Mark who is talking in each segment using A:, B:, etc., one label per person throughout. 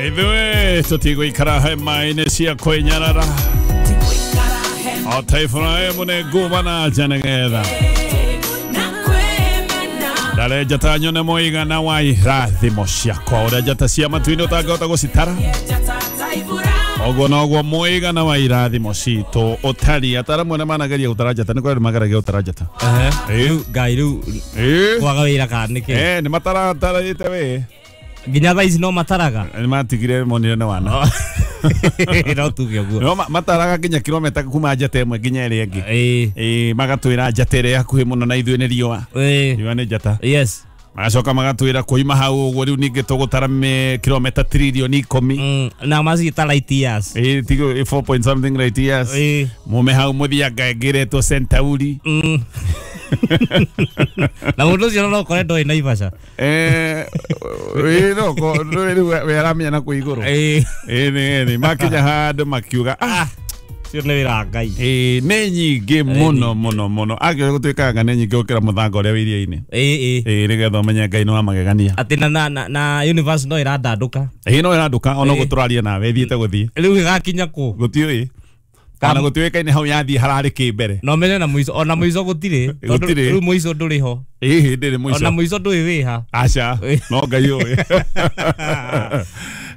A: Ithuĩ tũtigũikara hema-inĩ cia kwĩnyarara o ta Iburahĩmu nĩ nguma na nja nĩgetha ndare njata nyone mũigana wa irathimo ciakwa ũrĩa njata cia matu-inĩ ũtangĩhota gũcitara ũguo noguo mũigana wa irathimo citũ ũtariĩ. Ataaramu arĩa manageria gũtara njata nĩ kũrĩ andũ mageragia gũtara njata.
B: Rĩu Ngai rĩu kwaga wĩra kana nĩkĩ?
A: Nĩ mataratarĩte we
B: nginya thaa ici no mataraga
A: nĩ matigire monire nĩ wana
B: no tuge ũguo
A: no mataraga nginya kilomita kuma njata ĩmwe nginya ĩrĩa ĩngĩ. Magatwĩra njata ĩrĩa hakuhĩ mũno na ithuĩ nĩ riũa. Riũa nĩ njata.
B: Yes.
A: Magacoka magatwĩra kuima hau ũguo rĩu ningĩ tũgũtara kilomita trilioni 10
B: na maciĩta light years.
A: Tigo 4 point something light years. Mume hau mũthianga ĩngĩ ĩretwo Centauri.
B: Na mũndũ ũcio no ũkore ndoĩ Naivasha.
A: No rĩu we aramenya na kũu igũrũ. Nĩ makinya handũ makiuga
B: cio nĩ wĩra wa Ngai.
A: Nĩ nyingĩ mũno mũno mũno. Angĩoya gũtuĩkaga nĩ nyingĩ gũkĩra mũthanga ũrĩa wĩ iria-inĩ. Nĩgetha ũmenye Ngai nĩ wa magegania.
B: Atĩ na universe no ĩrandandũka.
A: No ĩrandũka ona ũguo tũraria nawe ĩthiĩte gũthiĩ.
B: Rĩu ĩgakinya kũ?
A: Gũtiũĩ. Kana gũtiũĩkaine hau yathiĩ hararĩ kĩ mbere.
B: Na ũmenye na mũico ona mũico gũtirĩ.
A: Gũtirĩ.
B: Rĩu mũico ndũrĩ ho.
A: Ndĩrĩ mũico.
B: Ona mũico ndũĩ wĩha.
A: Aca no Ngai ũĩ.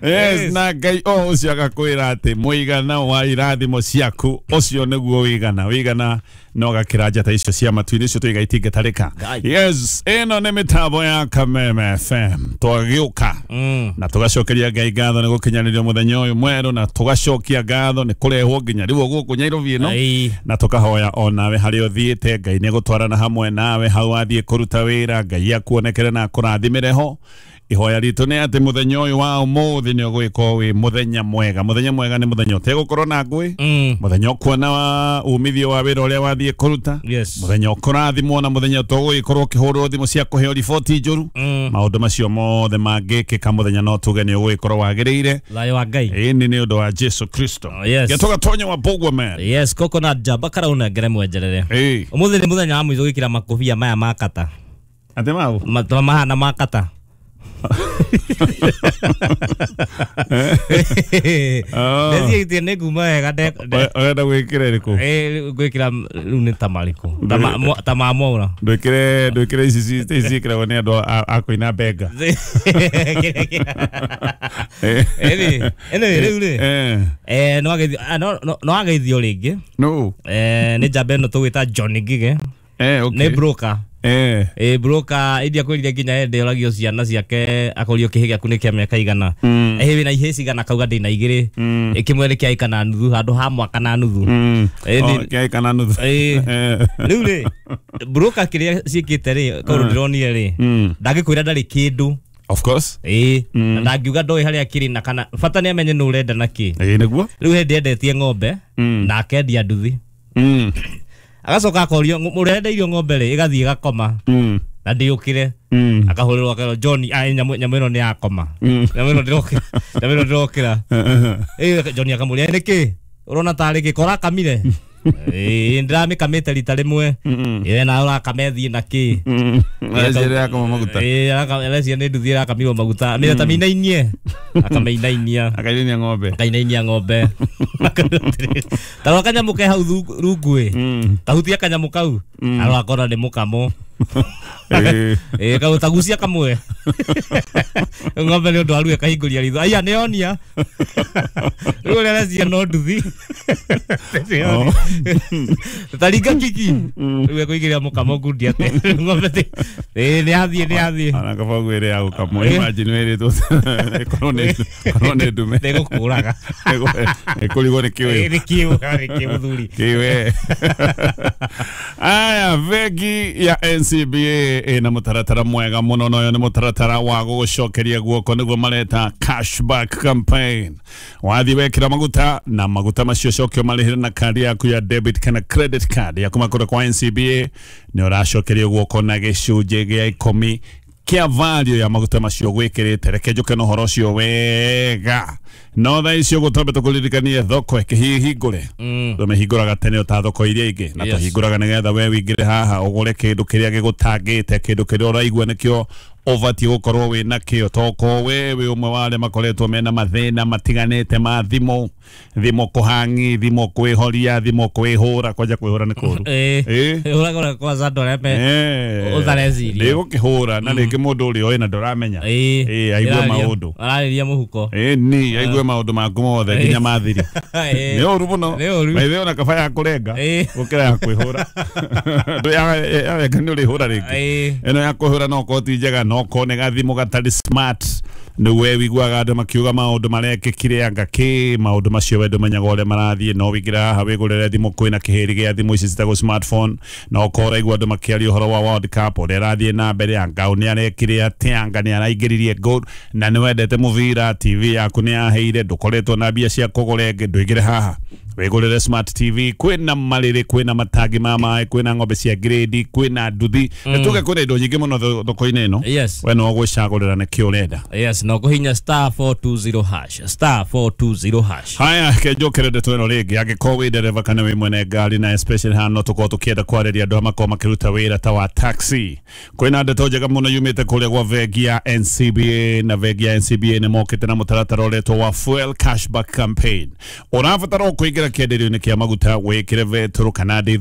A: Yes, na Ngai o ũcio agakwĩra atĩ mũigana wa irathimo ciaku ũcio nĩguo wĩigana wĩigana no gakĩra njata icio cia matu-inĩ icio tũiga itingĩtarĩka. Yes, ĩno nĩ mĩtambo ya Kameme FM twagĩũka na tũgacokeria Ngai ngatho nĩ gũkinyanĩria mũthenya ũyũ mwerũ na tũgacokia ngatho nĩ kũrehwo nginya rĩu gũkũ Nairobi ĩno na tũkahoya onawe harĩa ũthiĩte Ngai nĩ gũtwarana hamwe nawe hau wathiĩ kũruta wĩra Ngai akuonekere na akũrathimĩre ho. Ihoya ritũ nĩ atĩ mũthenya ũyũ wa ũmũthĩ nĩ ũgwĩkorwo wĩ mũthenya mwega. Mũthenya mwega nĩ mũthenya ũtegũkorwo na ngũĩ, mũthenya ũkuona wa umithio wa wĩra ũrĩa wathiĩ kũruta, mũthenya ũkũrathimwo na mũthenya ũtũgũgĩkorwo ũkĩhũrwo thimũ cia kũheo riboti njũru. Maũndũ macio mothe mangĩkĩka mũthenya no tuge nĩ ũgũgĩkorwo wagĩrĩire.
B: Thayũ wa Ngai.
A: Ĩni nĩ ũndũ wa Jesu Kristo. Gĩtũgatonya wa Bogwa man.
B: Yes, coconut jaba karauna ngere mwenjerere. Ũmũthĩ nĩ mũthenya wa mũico gwĩkĩra makobia maya ma kata.
A: Atĩ mau?
B: Mahana ma kata. Ndecirie nĩ nguma wega
A: ũrenda gwĩkĩra ĩrĩkũ?
B: Ngwĩkĩra rĩu nĩ ta marĩkũ ta ma Mwaura.
A: Ndwĩkĩre ici ciĩkĩragwo nĩ andũ a kũina benga.
B: Anyway, rĩu rĩ no ageithio rĩngĩ.
A: No.
B: Nĩ njamba ĩno tũgwĩta John Ngige. Nĩ broker. Broker iria kwĩrire nginya hĩndĩ oragio ciana ciake akorio kĩhĩ gĩaku nĩ kĩa mĩaka igana. Wĩna ihĩĩ cigana akauga ndĩna igĩrĩ. Kĩmwe nĩ kĩa ĩka na nuthu handũ ha mwaka na nuthu.
A: Kĩa ĩka na nuthu.
B: Rĩu rĩ broker kĩrĩa ciĩkĩte rĩ kaũndũ ndĩronire rĩ ndangĩkwĩra ndarĩ kĩndũ.
A: Of course.
B: Na ndangiuga ndoĩ harĩa kĩrĩ na kana bata nĩ amenye nũ ũrenda na kĩ.
A: Nĩguo.
B: Rĩu hĩndĩ endetie ng'ombe na akendia nduthi. Agacoka akorio ũrenda irio ng'ombe rĩ ĩgathiĩ ĩgakoma na ndĩũkĩre. Akahũrĩrwo akerwo John nyamũ ĩno nĩ yakoma. Nyamũ ĩno ndĩrokĩra. Nyamũ ĩno ndĩrokĩra. John akamũria nĩkĩ ũrona tarĩ kĩ korakamire. Ndĩramĩkamĩte rita rĩmwe. Na ũrakame thiĩ na kĩ.
A: Areciria yakoma maguta.
B: Areciria nĩ nduthi ĩrakamirwo maguta. Amĩre ta mĩinainie. Akamĩinainia.
A: Akainainia ng'ombe.
B: Akainainia ng'ombe. Ta rora kanyamũ ke hau rungu ĩ. Tahutia kanyamũ kau. Arora akona nĩ mũkamo. Kau tagucia kamwe. Ng'ombe nĩ ũndũ wa ruo ĩkahingũria ritho. Aya nĩ yonia. Rĩu ũrĩa areciria no nduthi. Taringa kiki. Rĩu ekũigĩrĩra mũkamo ngundi atĩ. Ng'ombe nĩ yathiĩ nĩ yathiĩ.
A: Ona kaba ngwĩre ya gũkamwo. Imagine wĩrĩtwo ĩkorwo nĩ ndume.
B: Nĩgũkũraga.
A: Ĩkũrigwo nĩ kĩũyũ.
B: Nĩ kĩũ nĩ kĩũ mũthuri.
A: Kĩwe. Aya bengi ya NCBA ĩna mũtaratara mwega mũno na ũyũ nĩ mũtaratara wa gũgũcokeria guoko nĩguo mareta cashback campaign. Wathiĩ wekĩra maguta na maguta macio cokio marĩhĩre na kandi yaku ya debit kana credit card ya kuma kũrĩa kwa NCBA nĩ ũracokerio guoko na gĩcunjĩ gĩa 10 kĩa value ya maguta macio gwĩkĩrĩte. Reke njũke na ũhoro ũcio wega. No thaa icio gũtombe tũkũririkanie thoko ĩkĩhingũre. Tũmĩhingũraga tene ta thoko iria ingĩ na tũhingũraga nĩgetha we wĩingĩre haha ũgũre kĩndũ kĩrĩa gĩgũtangĩte, kĩndũ kĩrĩa ũraigua nĩkĩo ũbatiĩ gũkorwo wĩ nakĩo, toko we wĩ ũmwe wa arĩa makoretwo mena mathĩna matiganĩte ma thimũ, thimũ kũhangi, thimũ kwĩhoria, thimũ kwĩhũra, kwanja kwĩhũra nĩ kũũru.
B: Ĩĩ kwanza andũ arĩa me ũtareciria.
A: Nĩgũkĩhũra na rĩngĩ mũndũ ũrĩa ũĩ na ndũramenya.
B: Ĩĩ
A: aigue maũndũ.
B: Ararĩria mũhuko.
A: Ĩĩ ni aigue maũndũ maku mothe nginya mathiri. Nĩ ũru mũno. Maithe ona kaba ya kũrenga gũkĩra ya kwĩhũra. Yarenga nĩ ũrĩhũra rĩngĩ. Ĩno ya kwĩhũra no korwo ti njega, no korwo nĩ gathimũ gatarĩ smart, nĩ we wiguaga andũ makiuga maũndũ marekĩkire anga kĩ, maũndũ macio we ndũmenyaga ũrĩa marathiĩ. No wĩingĩre haha wĩgũrĩre thimũ, kwĩna kĩhĩri gĩa thimũ ici citagwo smartphone. No korwo ũraigua andũ makĩaria ũhoro wa World Cup ũrĩa ĩrathiĩ na mbere, anga nĩ arekire atĩa, anga nĩ araingĩririe goal, na nĩ wendete mũbira, TV yaku nĩ yaheire, ndũkoretwo na mbia cia kũgũra ĩngĩ, ndũingĩre haha wĩgũrĩre smart TV. Kwĩna marĩrĩ, kwĩna matangi ma maĩ, kwĩna ng'ombe cia grade, kwĩna nduthi, nĩtuge kwĩna indo nyingĩ mũno thoko-inĩ ĩno. We no gwĩcagũrĩra nĩkĩ ũrenda.
B: Yes, no kũhinya *420 hash, *420 hash.
A: Haya, kenjokere ndeto ĩno rĩngĩ, angĩkorwo wĩ ndereba kana wĩ mwene ngari, na especially haha no tũkorwo tũkĩenda kwarĩria andũ arĩa makorwo makĩruta wĩra ta wa taxi. Kwĩna ndeto njega mũno yumĩte kũrĩa gwa bengi ya NCBA, na bengi ya NCBA nĩ mokĩte na mũtaratara ũretwo wa fuel cashback campaign. Ũrabatara o kũingĩra kĩenderio-inĩ kĩa maguta, wĩkĩre betũrũ kana ndithũrũ.